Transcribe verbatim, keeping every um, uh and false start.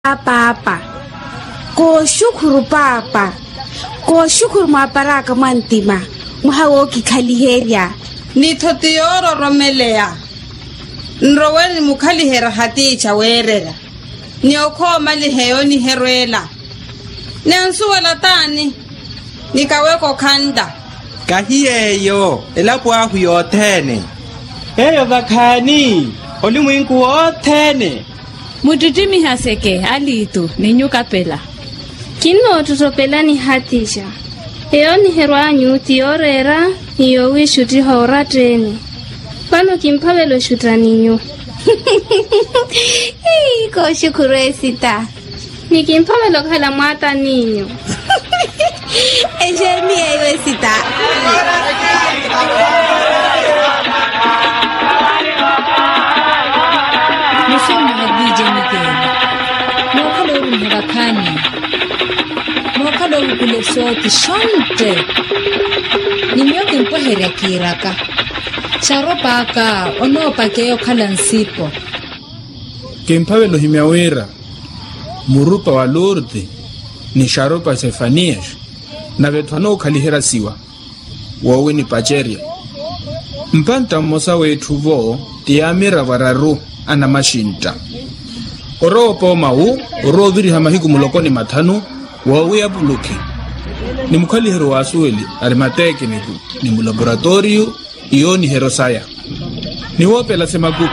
Paapa. Kooxukhuru paapa. Kooxukhuru mwaapar'aka mwa ntima. Mwaha wookikhaliherya. Ni-tho ti yoororomeleya. Nrowe nimukhaliherya hatiicha weererya. Ni okhoomaliha eyo niherweela. Ni ansuwela t'ani? Ni kaweke okhantta. Kahi yeeyo elapo ahu yothene. Eyo vakhaani olimwinku wothene. Muttittimiha-seke aliitu ni nyuka pela. Kinnoottottopelani hatixa. Eyo niherw'anyu ti yooreera ni yoowiixuttiha oratta-ene. Vano kimphavela oxutta ni nyu. Kooxukhuru esita. Ni kimphavela okhala mwaata n'inyu. Exeeni yeiwe sita. Muxeeni mwaha viije mikeele. Mookhala orumiha vakhaani. Mookhala ovukula exootti xontte. Ni miyo kimpweherya kiiraka. Xaropaaka onoopakeya okhala nsipo. Kimphavela ohimya wira murupa wa lurti ni xarupa sefaniyaxi. Nave-tho anookhaliherya siwa woowinipacerya. Mpantta mmosa w'etthu-vo ti yaamiravo araru anamaxintta. Orowa opoomawu orowa oviriha mahiku muloko ni mathanu woowiya pulukhi. Ni mukhaliheryo w'asuweli arimateke ni mulaporatoriyo iyooniheryo saya. Ni woopela semakuku.